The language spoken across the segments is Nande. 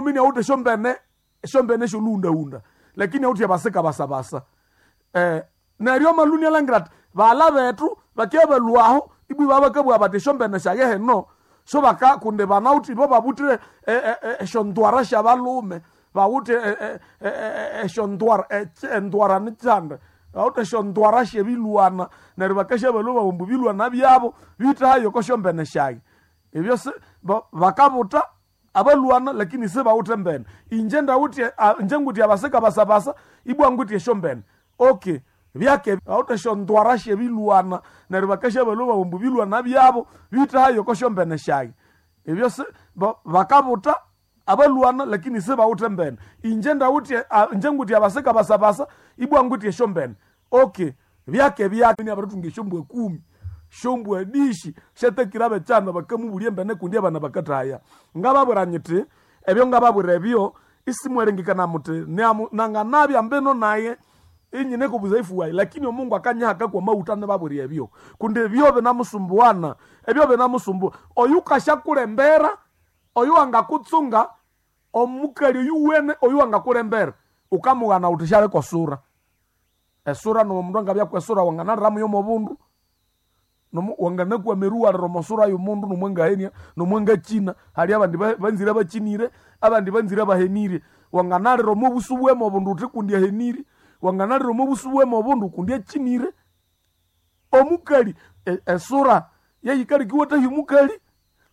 Mini awuthe esyombene esyombene esyolhughundahunda lakini awuthe abasika basabasa. Neryo amaluni alangira athi baghala bethu bakibya balhwaho ibwa ibabakabugha bathi esyombene syaye hino so baka kundi banawithe ibo babuthire esyondwara syabalhume bawithe esyondwara endwara nikyanda bawithe esyondwara syebilwana neryo bakasyabalhwa babu ambu ebilwana byabo biwithe oko syombene syayi. Ebyo si bakabutha abalwana lakini sibawithe mbene. Inje ndawithe inje ngwithe abasika basabasa ibwa ngwithe esyombene. Okay, byake bawithe esyondwara syebilwana neryo bakasyabalhwa babu ambu ebilwana byabo biwithe oko syombene syayi. Ebyo si bakabutha abalwana lakini sibawithe mbene. Inje ndawithe inje ngwithe abasika basabasa ibwa ngwithe esyombene. Okay, byake byake abirithunga esyombwa kumi, esyombwa dishi syatakire abekyana bakamubulya embene kundi abana bakathahaya. Ngababwira nyithi ebyo ngababwira ebyo isimwerengekana muthi nanganabya mbino naye inyine kobuzaifu wayi lakini omungu akanyihaka kwamawutha nibabwira ebyo kundi ebyo binamusumbuana ebyo binamusumbua. Oyukasyakulembera oyu wangakutsunga omukali oyuwene oyu wangakulembera wukamughana wuthi syaleka esura. Esura nomundu angabya kwesura wanganaliramu yomobundu wanganakwama eriwalira omosura yomundu nomwangahenia nomwangakyina. Hali abandi banzire bakyinire abandi banzire bahenire. Wanganalira omobusu bwema obundu wuthi kundi ahenire, wanganalira omobusu bwema obundu kundi akyinire. Omukali esura yeyikaleka iwathahya omukali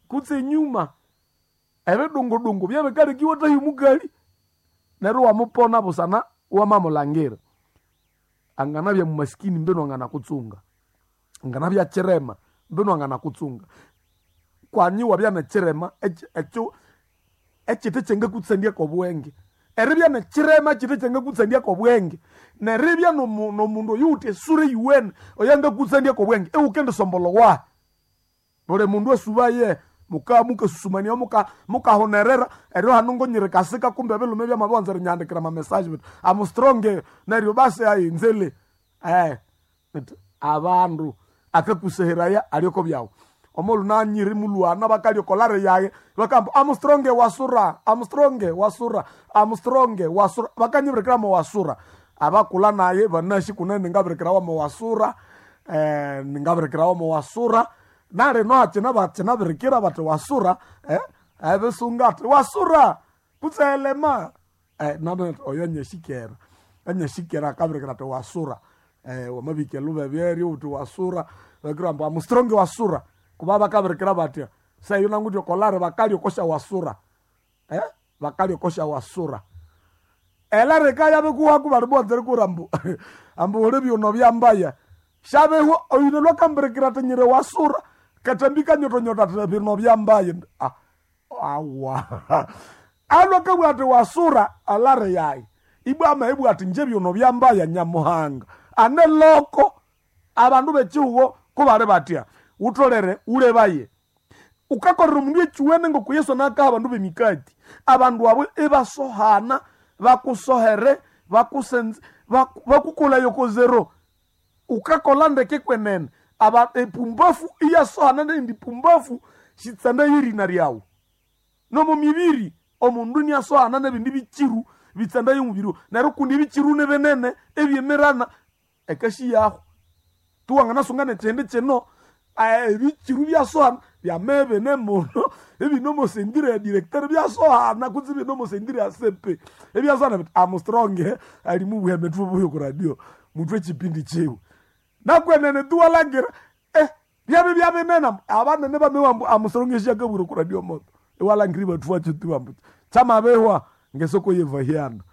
kutse enyuma ebidungudungu byebikaleka iwathahya omukali neryo iwamupona busana iwamamulangira. Anganabya mumasikini mbinu anganakutsunga, anganabya kyirema mbinu anganakutsunga. Kwanya iwabya nikyirema ekyo ekyithe kyangakutsandia kobwenge. Eribya nikyirema kyithe kyangakutsandia kobwenge neribya nomundu oyuwithe esura eyuwene oyangakutsandia kobwenge iwukendisombolha wahi. Buli mundu asubaye mukabya mukasusumania mukahunerera eryo hanu ngonyiri kasika kumbe ebilhume byamabiwanza erinyihandikira ama message bithi I'm strong neryo basi ayi nzele. Abandu akakuseheraya alyoko byawu. Omulhu nanyiri mulhwana bakalya okolare yayi bakamba I'm strong wasura, I'm strong wasura, I'm strong wasura. Bakanyibirikira mo wasura. Abakulha naye banasi kunene ngabirikirawa mo wasura, ngabirikirawa mo wasura. Nalino hakyina bakyinabirikira bathi wasura, ebisungu athi wasura kutse elema. Nabana athi oyo anyasyikera, anyasyikera akabirikira athi wasura. Wamabika elhubeberyo wuthi wasura bakira ambu I'm strong wasura. Kuba bakabirikira bathya seyo nangutya okolare bakalya okosya wasura, bakalya okosya wasura. Elarika yabikuwaku bali bowanza erikubwira ambu ambu wuli byuno byambaya. Syabihwa oyune lwakambirikira athi nyiri wasura kathambi kanyotonyotho athi bino byambaya. Awa alwe akabugha athi wasura alare yayi ibwa amabugha athi inje byuno byambaya Nyamuhanga. Ane loko abandu bekyihugho kubali bathya wutholere wulebaye. Wukakolera omundu ekyuwene ngoko Yesu anakaha abandu b'emikati. Abandu abo ibasohana bakusohere bakusenze bakukolaya oko zero. Wukakolha ndeke kwenene epumbafu iyasohana neyindi pumbafu sitsanda yerina lyawu. Nomo mibiri omundu iniasohana nebindi bikiru bitsanda yomubiri neryo kundi ebikiru nibinene ebyemirana ekashiyaho. Tuwanganasunga nekyindi kino ebikiru byasohana byamabya ibine muno ibine omo sentire ya directeur byasohana kutse ibine omo sentire ya CP ebyasohana bithi I'm strong ali mubugha thubughe oku radio muthwe ekyipindi kyiwe. Nakwenene tuwalangira byabya byabinene abanene bamabugha ambu I'm strong esyakabwira oku radio moto. Iwalangira ibathubakyo tu ambu kyamabihwa ngesoko yevahiana,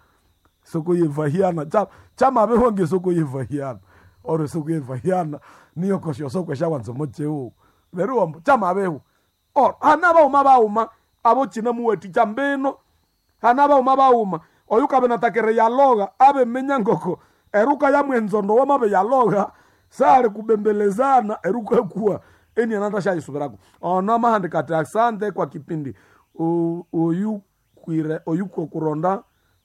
soko yevahiana kyamabihwa ngesoko yevahiana ori soko yevahiana niyo kosyosoko esyawanza omo kyihugho. Neryo ambu kyamabihwa. Ori hane abaghuma baghuma abo kyinamuwathikya mbino, hane abaghuma baghuma oyukabinathaka eriyalogha abiminya ngoko eruka yamwenzondo wamabiyalogha sali kubembelezana erukakuwa enianathasyayisubirako. Ono amahandika athi asante kwa kipindi oyukwire oyukokuronda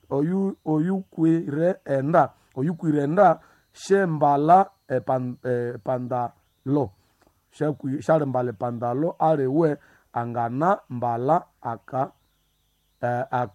oyu oyukwire enda oyukwire enda syembala epandalo syalimbala epandalo aliwe angana mbala aka aka.